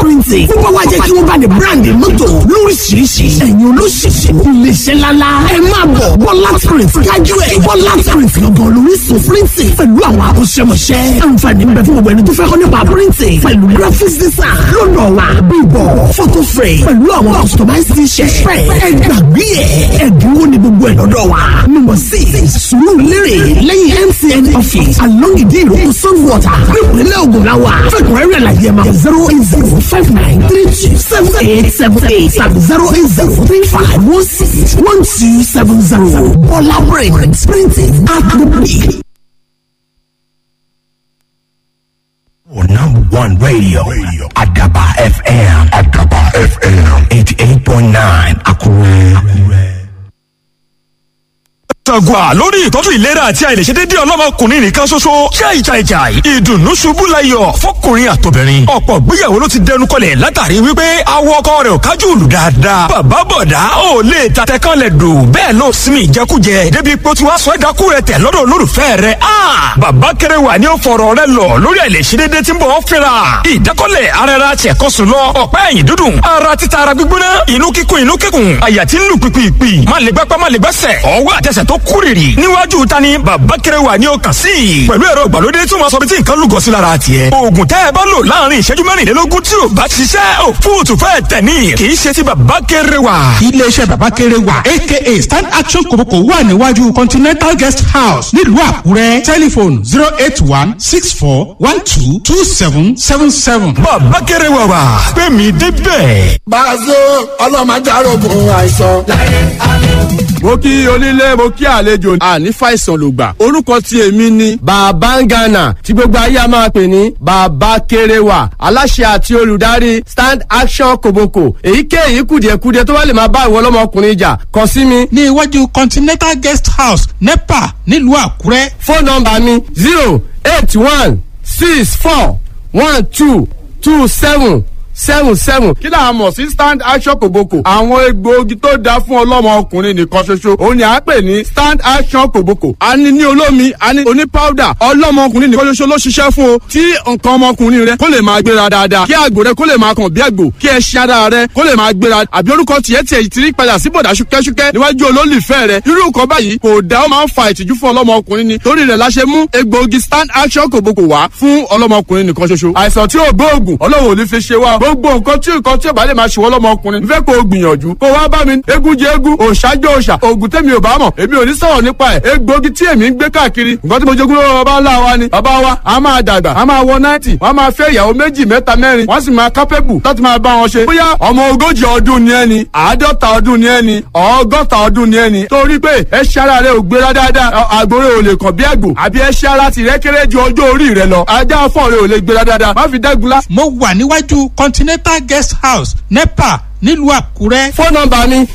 printing. Fún báwa jẹ́ kí wọ́n bá ní brand mọ́tò lóríṣiríṣi. Ẹ̀yin olóṣìṣì iléeṣẹ́ ńláńlá. Ẹ máa bọ̀ Bọ́lá print kájú ẹ̀. Bọ́lá print lọ́gàn lóríṣun printing pẹ̀lú àwọn akọ́ṣẹ́mọṣẹ́. Àǹfààní ń bẹ fún gbogbo ẹni tó fẹ́ kọ́ nípa printing pẹ̀lú graphics design lọ́dọ̀ wa. Bíbọ̀ photo frame pẹ̀lú àwọn customized t-shirt. Ẹ gbàgbé ẹ̀ ẹ̀dínwó ni gbogbo ẹ̀ lọ́dọ̀ wa. Number 6 Sùúrùlérè lẹ́yìn MTN office along Ìdí Ìrókò Sunwater nípínlẹ̀ Ògùn la wà. Fẹ́kùnrẹ́rẹ́ àlàyé máa 08059327878 tàbí 08035161270. Bọ́lá print printing at the peak. Number one radio, Adaba FM, Adaba FM, 88.9, Akure. Akure. Tàgùà lórí ìtọ́jú ìlera àti àìlèṣedédé ọlọ́mọkùnrin nìkan ṣoṣo jáìjáìjáì ìdùnnú ṣubú layọ̀ fọkùnrin àtobìnrin ọ̀pọ̀ gbéyàwó ló ti dẹnu kọlẹ̀ látàrí wípé awọ ọkọ rẹ̀ ò kájú òlù dáadáa bàbá bọ̀dá ò lè tatẹ kan lẹ̀ dò bẹ́ẹ̀ ló sinmi ìjẹkújẹ débi pé ó ti wá sọ ẹ̀dákú rẹ̀ tẹ̀ lọ́dọ̀ olólùfẹ́ rẹ̀ a bàbá kéré wà ní ó fọ̀rọ̀ rẹ̀ lọ lórí àìlèṣedédé tí ń bọ̀ fínra ìdákọ́lẹ̀ ara ẹra tiẹ̀kọ́sùn lọ ọ̀pá ẹ̀yìn dúdùn ara títa ara gbígbóná inú kíkún inú kíkún àyà tí ń lù pìpìpì má lè gbápá má lè gbẹ́sẹ̀ ọwọ́ àtẹsẹ̀ tó kúrìrì níwájú ta ni bàbá kéré wà ní ọkàn sí i pẹ̀lú ẹ̀rọ ìgbàlódé tí wọ́n sọ bí tí nǹkan lúgọ sí lára tiẹ̀ oògùn tẹ́ ẹ bá lò láàrin ìṣẹ́jú mẹ́rìnlélógún tí ò bá ṣiṣẹ́ ò fóòtù fẹ́ tẹ̀ ní kì í ṣe ti bàbá kéré wà. iléeṣẹ́ bàbá kéré wà aka stand action kòbókò wà níwájú continental guest house nílùú àkúrẹ́ tẹlifon 08164122777. bàbá kéré wà wà pé mi débẹ̀. Bàzó ọlọ́mọ ajárogun àìsàn. Mo kí onílé mo kí àlejò àní fàìsàn ló gbà orúkọ tí èmi ni. Bàbá ń Ghana tí gbogbo ayé a máa pè ní Bàbá Kéréwà aláṣẹ àti olùdarí Stand Action Koboko èyíkéyìí kùdìẹ̀kudiẹ tó bá lè máa bá ìwọ ọlọ́mọkùnrin jà kàn sí mi. ní iwájú continental guest house nepa nílùú àkúrẹ́. Fóònù nọ́mbà mi 08164122777. Kí là á mọ̀ sí Stand Action Koboko? Àwọn egbòogi tó dáa fún ọlọ́mọ ọkùnrin nìkan ṣoṣo òun ni à ń pè ní Stand Action Koboko. A ní ní olómi, a ní oní powder. Ọlọ́mọ ọkùnrin nìkan ṣoṣo ló ṣiṣẹ́ fún o. Tí nǹkan ọmọkùnrin rẹ kó lè máa gbéra dáadáa, kí àgbò rẹ kó lè máa kàn bí àgbò, kí ẹṣin ara rẹ kó lè máa gbéra, àbí orúkọ tiẹ̀ tiẹ̀ ti rí padà sí bọ̀dà ṣúkẹ́ṣúkẹ́ níwájú olólùfẹ́ rẹ, irú nǹkan báyìí kò dá, ó máa ń fa ìtìjú fún ọlọ́mọkùnrin ni. Torí rẹ̀ la ṣe mú egbòogi Stand Action Koboko wá fún ọlọ́mọkùnrin nìkan ṣoṣo. Àìsàn tí ò gbóògùn Ọlọ́run ò ní fi ṣe wá. Gbogbo nǹkan tí nǹkan tí ò bá lè máa ṣe wọ́n lọ́mọkùnrin, n fẹ́ kó o gbìyànjú kó wá bá mi. Eégún jẹ eégún, òòṣà jẹ òòṣà, oògùn tèmi ò bá mọ̀ èmi ò ní sọ̀rọ̀ nípa ẹ̀. Egbòogi tí èmi ń gbé káàkiri, nǹkan tí mo jogún lọ́wọ́ bàbá ńlá wa ni. Bàbá wa a máa dàgbà, a máa wọ 90, wọ́n máa fẹ́ ìyàwó méjì mẹ́ta mẹ́rin, wọ́n sì máa kápẹ́bù láti máa bá wọn ṣe. Bóyá ọmọ 40 ọdún ni ẹni, 50 ọdún ni ẹni, 60 ọdún ni ẹni, torí pé ẹṣin ara rẹ ò gbéra dáadáa, àgbòrè ò lè kàn bí àgbò, àbí ẹṣin ara tìrẹ kéré ju ọjọ́ orí rẹ lọ, ajá afọ́ rẹ ò lè gbéra dáadáa, má fi dẹ́gunlá. Mo wà níwájú continental guest house nepa nílùú àkúrẹ́. Fóònù nọ́mbà mi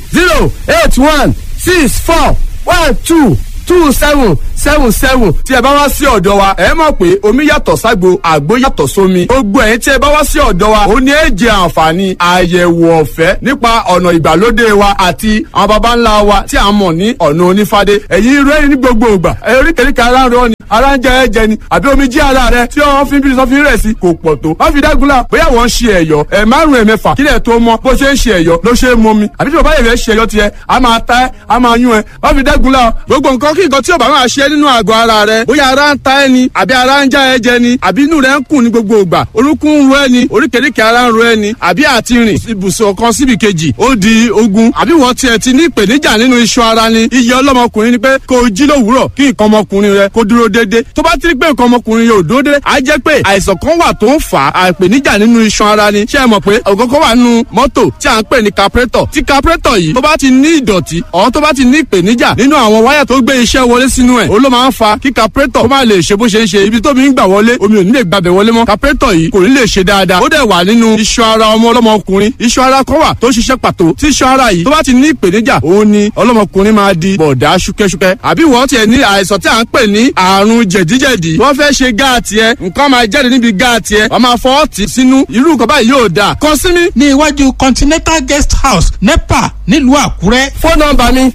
08164122777. Tí ẹ bá wá sí ọ̀dọ̀ wa, ẹ mọ̀ pé omi yàtọ̀ ságbo, àgbo yàtọ̀ sómi. Gbogbo ẹ̀yin tí ẹ bá wá sí ọ̀dọ̀ wa, ó ní èjì àǹfààní àyẹ̀wò ọ̀fẹ́ nípa ọ̀nà ìgbàlódé wa àti àwọn baba ńlá wa tí a mọ̀ ní ọ̀nà onífádé. Ẹ̀yin irú ẹ̀yin ní gbogbo ìgbà oríkèéríkèé ara ń rọ ni, ara ń jẹ ẹ̀jẹ̀ ni, àbí omi jí ara rẹ tí wọ́n fi ń bí sọ́fin rẹ̀ sí kò pọ̀ tó. Wọ́n fi dágunlá bóyá wọ́n ń ṣe ẹ̀yọ́ ẹ̀ márùn-ún ẹ̀mẹ́fà kílẹ̀ tó mọ bó ṣe ń ṣe ẹ̀yọ́ ló ṣe é mọ mi, àbí tí bàbá yẹn fẹ́ ṣe ẹ̀yọ́ tiẹ̀ a máa ta ẹ́, a máa yún ẹ. Wọ́n fi dágunlá gbogbo nǹkan kí nǹkan tí ò bá máa ṣe nínú àgọ́ ara rẹ, bóyá ara ń ta ẹ́ ni, àbí ara ń já ẹ jẹ ni, àbí inú rẹ ń kùn ní gbogbo ìgbà, orúnkún ń ro ẹ ni, oríkèéríkèé ara ń ro ẹ ni, àbí àti rìn ibùsùn kan síbi kejì ó di ogun, àbí wọ́n tiẹ̀ ti ní ìpèníjà nínú iṣan ara ni. Iye ọlọ́mọkùnrin ni pé kó o jí lówùúrọ̀ kí nǹkan ọmọkùnrin rẹ kó dúró déédéé. Tó bá ti rí pé nǹkan ọmọkùnrin yóò dúró déédéé, á jẹ́ pé àìsàn kan wà tó ń fà á ìpèníjà nínú iṣan ara ni. Ṣé ẹ mọ̀ pé ògógó wà nínú mọ́tò tí à ń pè ní carburetor? Tí carburetor yìí tó bá ti ní ìdọ̀tí ọ̀ tó bá ti ní ìpèníjà nínú àwọn wáyà tó gbé iṣẹ́ wọlé sínú ẹ̀, ó ló máa ń fa kí carburetor kó má lè ṣe bó ṣe ń ṣe. Ibi tómi ń gbà wọlé, omi ò ní lè gbàbẹ̀ wọlé mọ́, carburetor yìí kò ní lè ṣe dáadáa. Ó dẹ̀ wà nínú iṣan ara ọmọ ọlọ́mọkùnrin, iṣan ara kan wà tó ṣiṣẹ́ pàtó. Tí iṣan ara yìí tó bá ti ní ìpèníjà, òun ni ọlọ́mọkùnrin máa di bọ̀dá ṣúkẹ́ṣúkẹ́. Àbí wọ́n tiẹ̀ ní àìsàn tí à ń pè ní àrùn jẹ̀díjẹ̀dí, wọ́n fẹ́ ṣe gáàtì ẹ, nǹkan máa jáde níbi gáàtì ẹ, wọ́n máa fọwọ́ tì sínú, irú nǹkan báyìí yóò dáa. Kàn sí mi. Ní iwájú continental guest house nepa nílùú àkúrẹ́. Fóònù nọ́mbà mi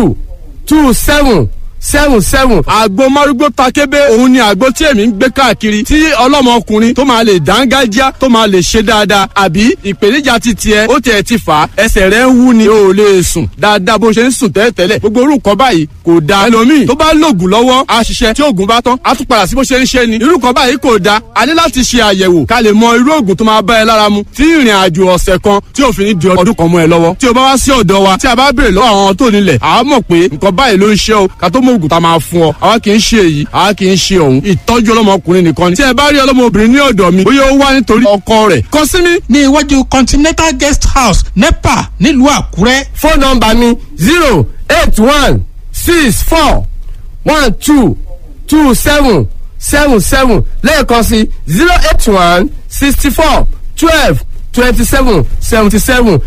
081641227 seven seven. Àgbo márúgbó takébé, òun ni àgbo tí èmi ń gbé káàkiri, tí ọlọ́mọkùnrin tó máa lè dángájá, tó máa lè ṣe dáadáa. Àbí ìpèníjà ti tiẹ̀, ó tiẹ̀ ti fà á, ẹsẹ̀ rẹ̀ ń wú ni, o ò lè sùn dáadáa bó ṣe ń sùn tẹ́lẹ̀tẹ́lẹ̀. Gbogbo orú nǹkan báyìí kò dáa. Ẹlòmíì tó bá lògùn lọ́wọ́ á ṣiṣẹ́, tí oògùn bá tán á tún padà sí bó ṣe ń ṣe ni. Irú nǹkan báyìí kò dáa. A ní láti ṣe àyẹ̀wò ká lè mọ irú oògùn tó máa bá ẹ lára mu, tí ìrìn àjò ọ̀sẹ̀ kan tí òfin ní di ọdún kan mọ́ ẹ lọ́wọ́. Tí o bá wá sí ọ̀dọ̀ wa, tí a bá béèrè lọ́wọ́ àwọn tó nílẹ̀, àá mọ̀ pé nǹkan báyìí ló ń ṣe o, ká tó mọ oògùn tá a máa fún ọ. Àwa kì í ṣe èyí, àwa kì í ṣe òun. Ìtọ́jú ọlọ́mọkùnrin nìkan ni. Tí ẹ bá rí ọlọ́mọbìnrin ní ọ̀dọ̀ mi, bóyá ó wá nítorí ọkọ rẹ̀, kàn sí mi. Ní iwájú Continental Guest House, NEPA, nílùú Àkúrẹ́. Fóònù nọ́mbà mi: 08164122777. Lẹ́ẹ̀kan sí: 08164122777.